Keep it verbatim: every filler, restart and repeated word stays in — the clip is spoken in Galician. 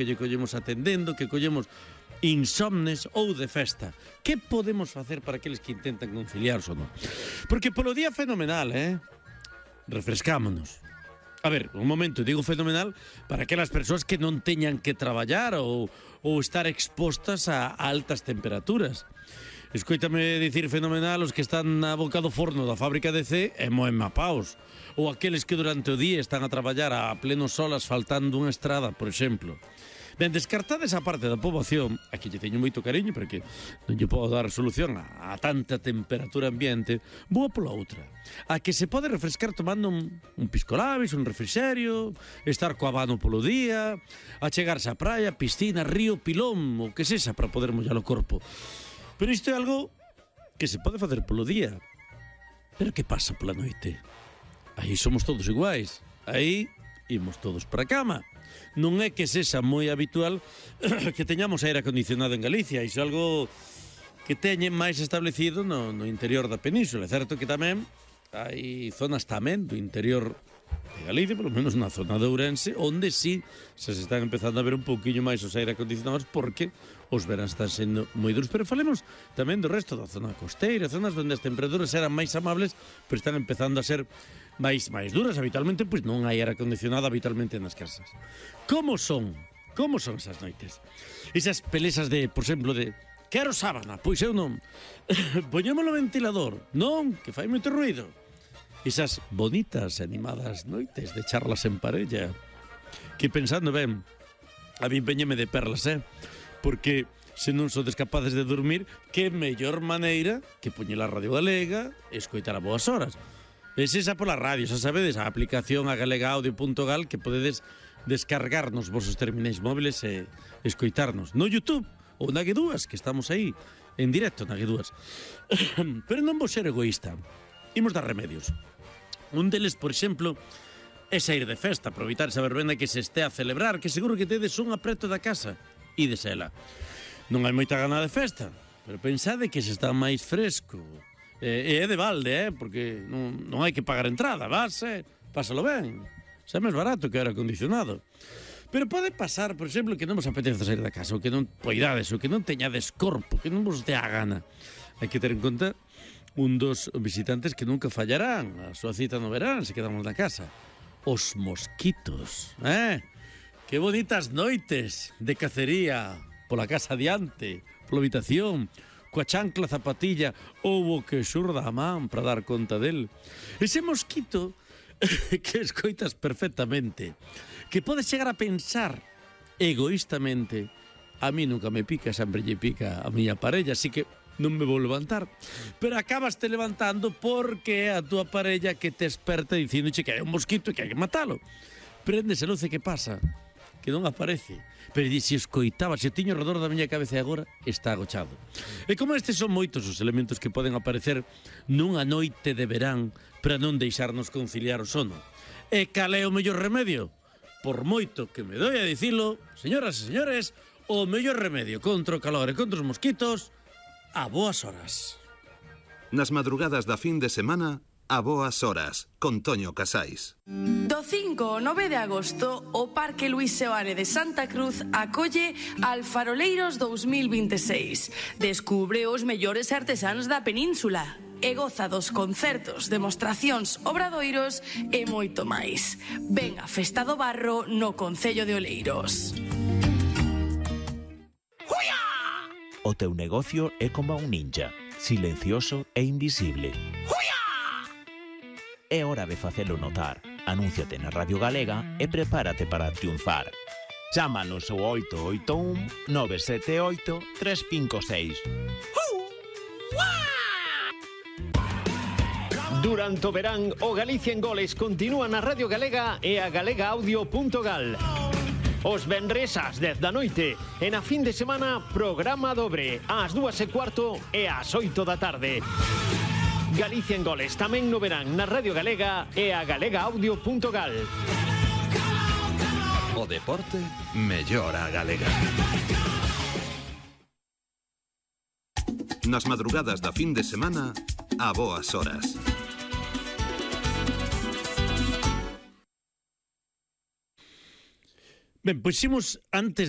que lle collemos atendendo, que collemos insomnes ou de festa. Que podemos facer para aqueles que intentan conciliar o non? Porque polo día fenomenal, eh? Refrescámonos. A ver, un momento, digo fenomenal para aquelas persoas que non teñan que traballar ou, ou estar expostas a altas temperaturas. Escoítame dicir fenomenal os que están na boca do forno da fábrica de C e moen mapaos. Ou aqueles que durante o día están a traballar a pleno sol asfaltando unha estrada, por exemplo. Ben, descartada esa parte da poboación, aquí lle teño moito cariño porque non lle podo dar solución a, a tanta temperatura ambiente, boa pola outra. A que se pode refrescar tomando un, un piscolabis, un refrigerio, estar co abano polo día, a chegarse á praia, piscina, río, pilón, o que sexa para poder mollar o corpo. Pero isto é algo que se pode facer polo día. Pero que pasa pola noite? Aí somos todos iguais. Aí imos todos para a cama. Non é que sexa moi habitual que teñamos aire acondicionado en Galicia. Iso é algo que teñen máis establecido no, no interior da península. É certo que tamén hai zonas tamén do interior de Galicia, polo menos na zona de Ourense, onde sí se están empezando a ver un pouquiño máis os aire acondicionados porque os veráns están sendo moi duros. Pero falemos tamén do resto da zona costeira, zonas onde as temperaturas eran máis amables, pero están empezando a ser máis máis duras. Habitualmente, pois non hai aire acondicionado habitualmente nas casas. Como son? Como son esas noites? Esas pelesas de, por exemplo, de quero sábana, pois eu non. Poñémolo ventilador, non, que fai moito ruido. Esas bonitas e animadas noites de charlas en parella, que pensando ben, a mí empeñeme de perlas, eh? Porque se non sodes capaces de dormir, que mellor maneira que poñer a Radio Galega e escoitar a boas horas. Es esa pola radio, xa sabedes, a aplicación a galega audio punto gal que podedes descargar nos vosos terminais móviles e escoitarnos no YouTube ou na G dúas, que estamos aí en directo na G dúas. Pero non vou ser egoísta, imos dar remedios. Un deles, por exemplo, é sair de festa, aproveitar esa verbena que se este a celebrar, que seguro que tedes un apreto da casa, e desela. Non hai moita gana de festa, pero pensade que se está máis fresco. E é de balde, eh? Porque non, non hai que pagar entrada, vas, eh? Pásalo ben. Xa é máis barato que o aire acondicionado. Pero pode pasar, por exemplo, que non vos apetece sair da casa, ou que non poidades, ou que non teñades corpo, que non vos dé a gana. Hai que ter en conta un dos visitantes que nunca fallarán a súa cita no verán se quedamos na casa. Os mosquitos, eh? Que bonitas noites de cacería pola casa adiante, pola habitación, coa chancla zapatilla ou o que xurda a man para dar conta del. Ese mosquito que escoitas perfectamente, que podes chegar a pensar egoístamente, a mí nunca me pica, sempre lle pica a miña parella, así que non me vou levantar. Pero acabas te levantando porque é a túa parella que te esperta dicindo que hai un mosquito e que hai que matalo. Préndese luz e que pasa? Que non aparece. Pero se escoitaba, se o tiño redor da miña cabeza agora, está agochado. E como estes son moitos os elementos que poden aparecer nunha noite de verán para non deixarnos conciliar o sono. E cal é o mellor remedio? Por moito que me doi a dicilo, señoras e señores, o mellor remedio contra o calor e contra os mosquitos, a boas horas. Nas madrugadas da fin de semana, a boas horas, con Toño Casais. Do cinco ao nove de agosto, o Parque Luís Seoane de Santa Cruz acolle Alfaroleiros dous mil vinte e seis. Descubre os mellores artesáns da península e goza dos concertos, demostracións, obradoiros e moito máis. Ven a Festa do Barro no Concello de Oleiros. O teu negocio é como un ninja, silencioso e invisible. É hora de facelo notar. Anúnciate na Radio Galega e prepárate para triunfar. Chámanos ao oito oito un, nove sete oito, tres cinco seis. Durante o verán, o Galicia en Goles continúa na Radio Galega e a galega audio punto gal. Os venres ás dez da noite e na fin de semana programa dobre ás dúas e cuarto e ás oito da tarde. Galicia en Goles tamén no verán na Radio Galega e a galega audio punto gal. O deporte mellora a galega. Nas madrugadas da fin de semana, a boas horas. Ben, pois imos antes de